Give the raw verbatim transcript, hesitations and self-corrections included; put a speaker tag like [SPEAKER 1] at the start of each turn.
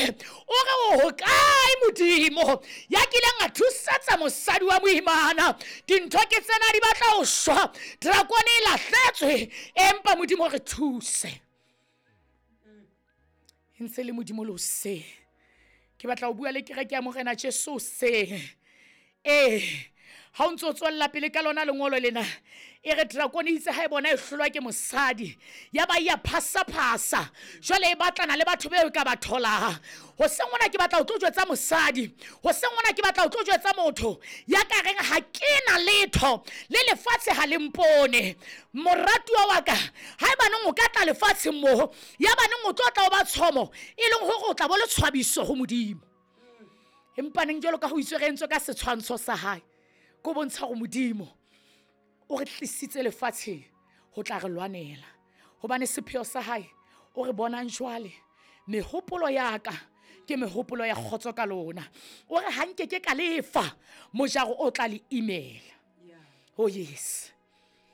[SPEAKER 1] eme o re o hokae Modimo ya kileng a thusetsa mosadi wa moimana. Dintho ke tsena di batla ho shwa, drakone e lahletswe, empa Modimo re thuse. E ntse le Modimo le hoseng. Ke batla ho bua le kereke ya Morena Jesu hoseng. Ee, ha o ntso o tswella pele ka lona lengolo lena, e re drakone itse ha e bona e hlolwa ke mosadi, ya ba ya phasa-phasa, jwale e batlana le batho beo e ka ba tholang. Hoseng hona ke batla ho tlo jwetsa mosadi, hoseng hona ke batla ho tlo jwetsa motho ya ka reng ha ke na letho le lefatshe ha le mpone. Moratuwa wa ka, haebaneng o ka tla lefatsheng moo, ya baneng o tlo tla o ba tshomo, e leng hore o tla bo le tshwabiso ho Modimo. Empa neng jwalo ka ho itswe re entswe ka setshwantsho sa hae, ko bontsha hore Modimo o re tlisitse lefatsheng ho tla re lwanela. Hobane sepheo sa hae o re bonang jwale, mehopolo ya ka ke mehopolo ya kgotso ka lona. O re ha nke ke ka lefa mojaro o tla le imela. Oh yes.